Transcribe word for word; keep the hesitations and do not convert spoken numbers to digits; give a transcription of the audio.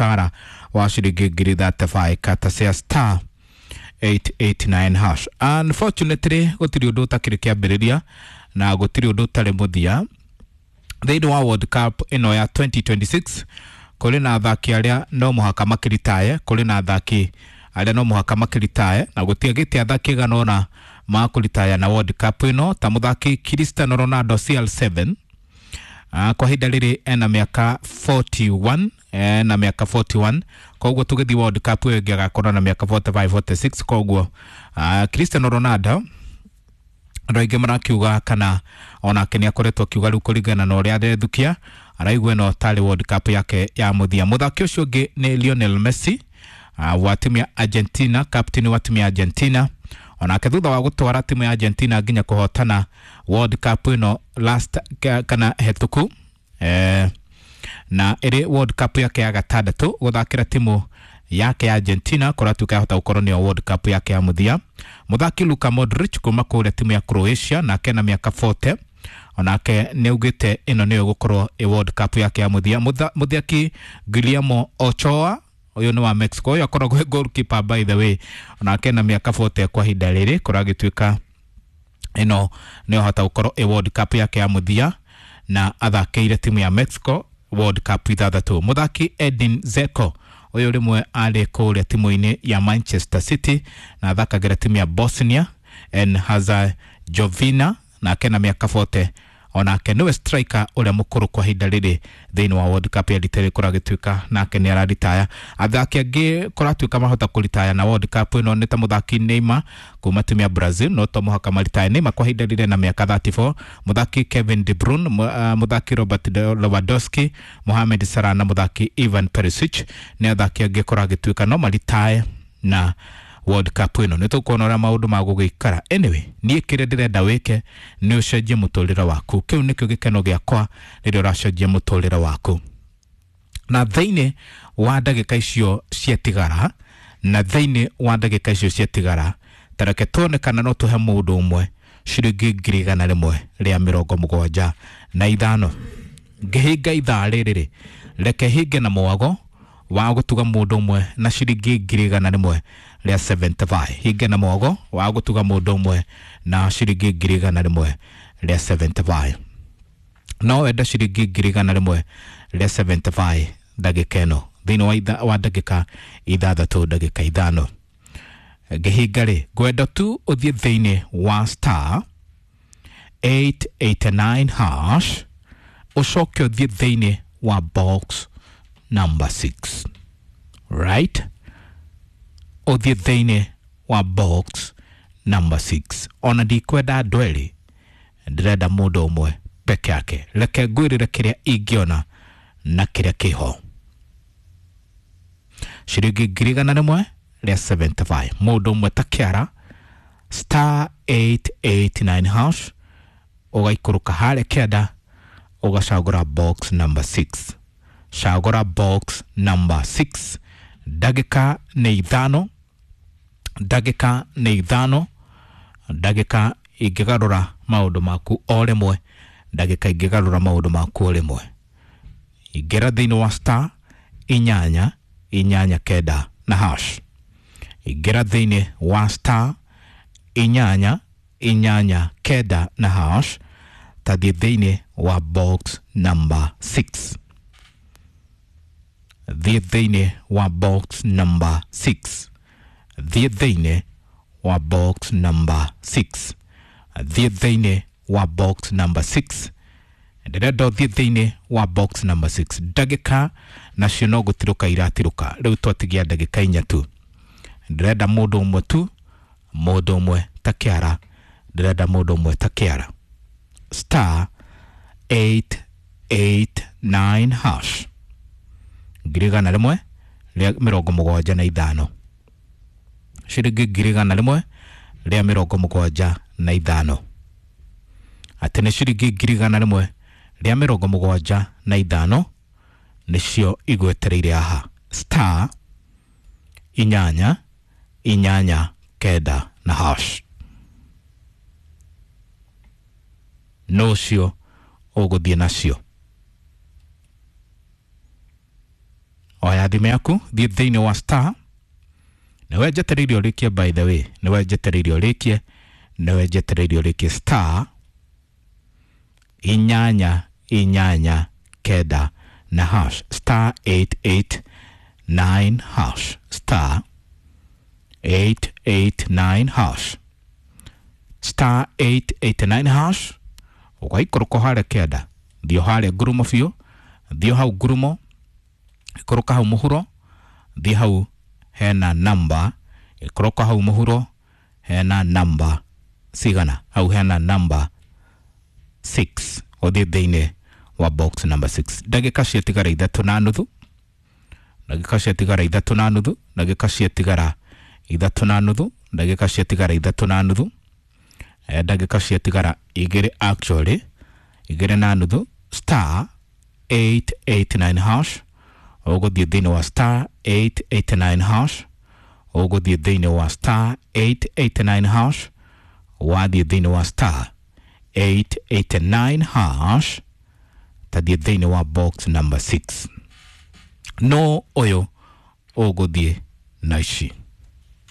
mũcara wa ciringi ngiri thirty-five kata cia star eight eight nine hash. Unfortunately gũtirĩ ũndũ ũtakĩrĩ kĩambĩrĩria na gũtirĩ ũndũ ũtarĩ mũthia thĩinĩ wa World Cup ĩno ya twenty twenty-six. Kũrĩ na athaki arĩa no mũhaka makĩritaye, kũrĩ na athaki arĩa no mũhaka makĩritaye, na gũtiagĩte athaki igana ũna makũritaya na World Cup ĩno ta mũthaki Cristiano Ronaldo C R seven. Uh, kwa ihinda rĩrĩ ena mĩaka forty-one, ena mĩaka forty-one, koguo tũgĩthiĩ World Cup ĩyo ĩngĩ agakorwo na mĩaka forty-five, forty-six. Koguo uh, Cristiano Ronaldo andũ aingĩ marakiuga kana onake nĩ akoretwo akiuga rĩu kũringana na ũrĩa arethukia araigua ĩno tarĩ World Cup yake ya mũthia. Mũthaki ũcio ũngĩ nĩ Lionel Messi, uh, wa timu ya Argentina, captain wa timu ya Argentina, onake thutha wa gũtwara timu ya Argentina nginya kũhotana World Cup ĩno last kana hetũku, eh, na ĩrĩ World Cup yake ya gatandatũ gũthakĩra timu yake ya Argentina kũratuĩka yahota gũkorwo nĩyo World Cup yake ya mũthia. Mũthaki Luka Modric kuma kũrĩa timu ya Croatia nake na mĩaka forty, onake nĩaugĩte ĩno nĩyo ĩgũkorwo ĩ World Cup yake ya mũthia. Mũthaki Guillermo Ochoa ũyũ nĩ wa Mexico, ũyũ akoragwo e goalkeeper by the way, onake na mĩaka forty kwa ihinda rĩrĩ kũragĩtuĩka ĩno nĩyo hota gũkorwo ĩ World Cup yake ya mũthia na athakĩire timu ya Mexico World Cup ithathatũ. Mũthaki Edin Dzeko ũyũ rĩmwe arĩ kũrĩa timu-inĩ ya Manchester City na athakagĩra timu ya Bosnia and Herzegovina nake na mĩaka forty, onake nĩwe striker ũrĩa mũkũrũ kwa ihinda rĩrĩ thĩinĩ wa World Cup ya rita rĩrĩ kũragĩtuĩka nake nĩ araritaya. Athaki angĩ kũratuĩka mahota kũritaya na World Cup ĩno nĩ ta mũthaki Neymar kuma timu ya Brazil, no to mũhaka maritaya Neymar kwa ihinda rĩrĩ na mĩaka thirty-four, mũthaki Kevin De Bruyne, mũthaki Robert Lewandowski, Mohamed Salah na mũthaki Ivan Perisic nĩ athaki angĩ kũragĩtuĩka no maritaye na World Cup ĩno. Nĩ tũkuona ũrĩa maũndũ magũgĩikara. Anyway, niĩ kĩrĩa ndĩrenda wĩke nĩ ũcenjie mũtũrĩre waku. Kĩu nĩkĩo gĩkeno gĩakwa rĩrĩa ũracenjia mũtũrĩre waku. Na thĩinĩ wa ndagĩka icio ciatigara, na thĩinĩ wa ndagĩka icio ciatigara, ta reke tuone kana no tũhe mũndũ ũmwe ciringi ngiri igana rĩmwe rĩa mĩrongo mũgwanja na ithano. Ngĩhinga ithaa rĩrĩ rĩ, reke hinge na mwago wa gũtuga mũndũ ũmwe na ciringi ngiri igana rĩmwe rĩa seventy-five. Hinge na mwago wa gũtuga mũndũ ũmwe na ciringi ngiri igana rĩmwe rĩa seventy-five. No wenda ciringi ngiri igana rĩmwe rĩa seventy-five ndagĩka ĩno thĩinĩ wa itha, wa ndagĩka ithathatũ ndagĩka ithano. Ngĩhinga rĩ, ngwenda tu ũthiĩ thĩinĩ wa star eight eight nine hash ũcoke ũthiĩ thĩinĩ wa box number six, right? Ũthiĩ thĩinĩ wa box number six. Ona ndikwenda andũ erĩ, ndĩrenda mũndũ ũmwe peke yake. Reke ngwĩrĩre kĩrĩa ingĩona na kĩrĩa kĩho. Ciringi ngiri igana rĩmwe rĩa seventy-five, mũndũ ũmwe ta kĩara star eight eight nine hash, ũgaikũrũka harĩa kĩanda ũgacagũra box number six. Cagũra box number six. Ndagĩka nĩ ithano, ndagĩka nĩ ithano, ndagĩka ingĩgarũra maũndũ maku o rĩmwe, ndagĩka ingĩgarũra maũndũ maku o rĩmwe. Ingĩra thĩinĩ wa star inyanya inyanya kenda na hash. Ingĩra thĩinĩ wa star inyanya inyanya kenda na hash, tathiĩ thĩinĩ wa box number six. Thiĩ thĩinĩ wa box number six. Thiĩ thĩinĩ wa box number six. Thiĩ thĩinĩ wa box number six. Ndĩrenda ũthiĩ thĩinĩ wa box number six. Ndagĩka nacio no gũtirũka iratirũka. Rĩu twatigia ndagĩka inya tu. Ndĩrenda mũndũ ũmwe tu, mũndũ ũmwe ta kĩara. Ndĩrenda mũndũ ũmwe ta kĩara. Star eight eight nine hash. Ngiri igana rĩmwe rĩa mĩrongo mũgwanja na ithano. Ciringi ngiri igana rĩmwe rĩa mĩrongo mũgwanja na ithano. Atĩ nĩ ciringi ngiri igana rĩmwe rĩa mĩrongo mũgwanja na ithano nĩcio igwetereire haha. Star inyanya inyanya kenda na hash. No ũcio ũgũthiĩ nacio. Oya thimũ yaku, thiĩ thĩinĩ wa star. Nĩwe njetereire ũrĩkie, by the way, nĩwe njetereire ũrĩkie, nĩwe njetereire ũrĩkie. Star inyanya inyanya kenda na hash, star eight eight nine hash, star eight eight nine hash, star eight eight nine hash. Ũgaikũrũka harĩa kĩanda, thiĩ harĩa ngurumo biũ, thiĩ hau ngurumo, ikũrũka hau mũhuro, thiĩ hau hena namba, ikũrũka hau mũhuro hena namba cigana, hau hena namba six, ũthiĩ thĩinĩ wa box number six. Ndagĩka ciatigara ithatũ na nuthu, ndagĩka ciatigara ithatũ na nuthu, ndagĩka ciatigara ithatũ na nuthu, ndagĩka ciatigara ithatũ na nuthu, eh, ndagĩka ciatigara igĩrĩ, actually igĩrĩ na nuthu. Star eight eight nine hash, ũgũthiĩ thĩinĩ wa star eight eight nine hash, ũgũthiĩ thĩinĩ wa star eight eight nine hash. Wathiĩ thĩinĩ wa star eight eight nine hash, tathiĩ thĩinĩ wa box number six. No ũyũ ũgũthiĩ na ici.